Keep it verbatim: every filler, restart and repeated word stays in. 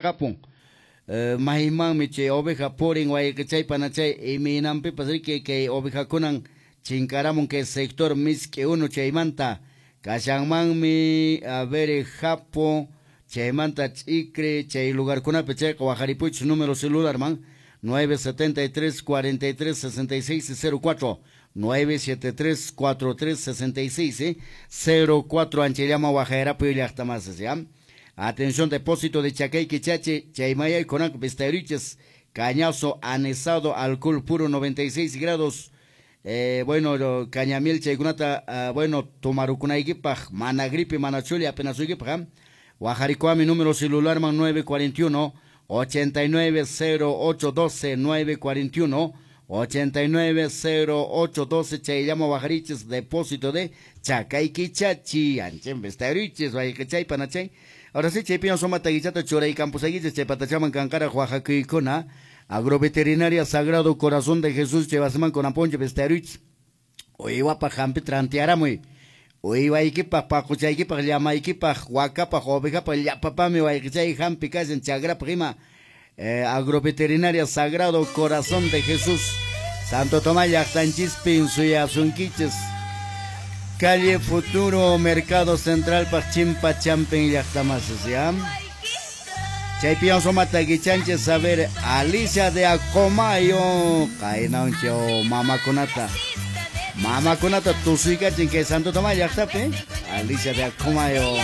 Kapun maymanmi chay oveja purin wayqichay panachay imaynanpipas riki kay ovejakunan chinkaramun kay sector misk'i unu chaymanta kashanmanmi a ver Japo chaymanta Ch'icre chay lugarkunapi chayqa wajaripuychis número celularman nueve setenta y tres cuarenta y tres sesenta y seis cero cuatro nueve siete tres cuatro tres sesenta y seis cero cuatro anchayllama wajayarapuy llaqtamasis ya. Atención, depósito de Chacay Quichachi, Chaymayay, Conac, Vistariches, cañazo anisado, alcohol puro noventa y seis grados. Eh, bueno, cañamiel, chaykunata, uh, bueno, tomarukunaykipaj, mana gripe, mana chuli, apenas suykipaj. Wajarikuami número celular man nueve cuarenta y uno, ochenta y nueve cero ocho doce, nueve cuarenta y uno, ochenta y nueve cero ocho doce, chayllama wajariches, depósito de Chacay Quichachi, anchen Vistariches, wayqichay, panachay. Ahora sí, chaypiña suma taguichata churay campusaguiches, chaypatachaman kankara oaxacuicuna, agroveterinaria Sagrado Corazón de Jesús, chayvasiman con aponche Vistariches, uywapaj hampi trantearamuy, uywaykipaj, paquchaykipaj, llamaykipaj, wakapaj, ovejapaj, llapapami wayqichay hampi kashan chagrapaj ima, eh, agroveterinaria Sagrado Corazón de Jesús, Santo Tomás llaqtanchispin suyasunkichis. Calle Futuro, Mercado Central, Pachimpa, Champen, llaqtamasis, ¿ya? Chaypion somata guichanches, a ver, Alicia de Acomayo, Kainauncho, Mamakunata. Mamakunata, tusuykachin, que Santo Tomás, llaqtapi, Alicia de Acomayo.